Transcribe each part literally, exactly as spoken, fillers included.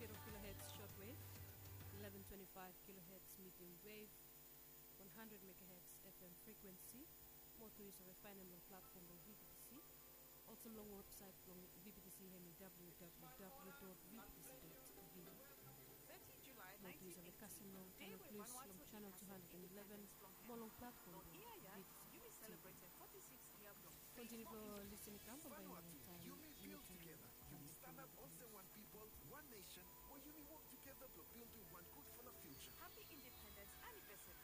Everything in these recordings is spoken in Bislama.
Kilohertz shortwave, eleven twenty-five kilohertz medium wave, one hundred megahertz F M frequency, mo tu yu save faenem long platform blong V B T C, olsem long website blong V B T C, hemi W W W dot V B T C dot V. Mo tu yu save kasem long Canal Plus long channel two hundred and eleven, mo long platform blong V B T C T V. Kontiniu blong lisin i kam blong bae long taem. Yumi build together. Yumi stand up olsem one people, one nation, mo yumi work together blong building one gudfala future. Happy Independence Anniversary.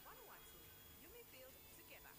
Vanuatu, yumi build together.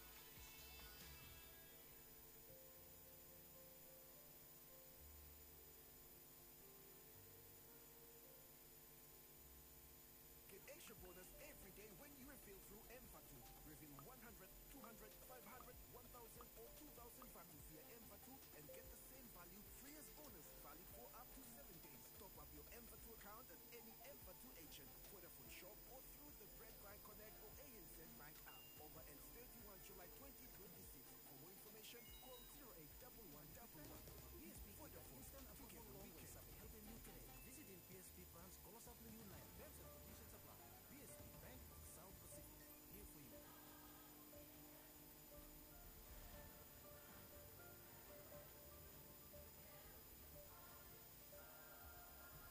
Get extra bonus every day when you refill through M Vatu. Refill one hundred, two hundred, five hundred, one thousand, or two thousand Vatu via M Vatu and get the same value free as bonus, valid for up to seven days. Top up your M Vatu account at any M Vatu agent, Vodafone shop, or through the Bread Bank Connect or A N Z Bank app. Over ends thirty-one July twenty twenty-six. For more information, call zero eight double one double one. B S P, Vodafone, together we can. Helping you today. Visit in B S P branch close up near you now. Terms and conditions apply. B S P, Bank of the South Pacific. Here for you.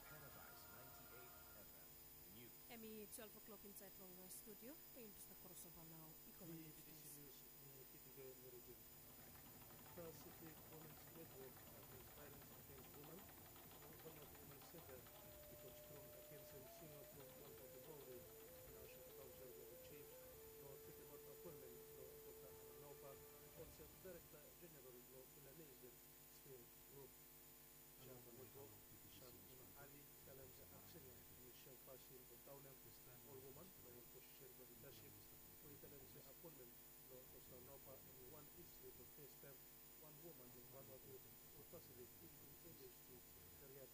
Paradise ninety-eight F M. Hemi twelve o'clock insaed long studio. Be yumi stap krosova nao i go long news. News, eh, P T K Meridian. Pacific Women's Network, eh, Violence Against Women, Vanuatu Women Center, i tok strong agensim singa blong wan foti rol we National Council of the Chiefs blong tekemaot apoenmen blong Dokta Alan Naupa olsem Director General blong Melanesian Sphere Group. Chairman Network, Shan Imahali, i talem se aksen ya hemi sem fasin blong daonem ol woman long wan posisen blong lidasip, we i talem se apoenmen blong Dokta Naupa hemi wan histri blong fes taem wan woman long Vanuatu we fasiliteit i givim English tu period.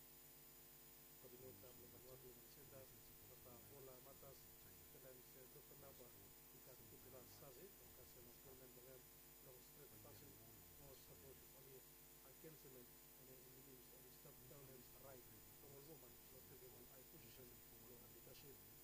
Koodineta blong Vanuatu Women Center, Dokta Paula Matas, i talem se Dokta Naupa i gat gudfala save blong kasem apoenmen blong hem long stret fasin mo sapot oli agensim hem, mo hem i bilif oli stap daonem raet blong ol woman blong tekem ol hae posisen long lidasip.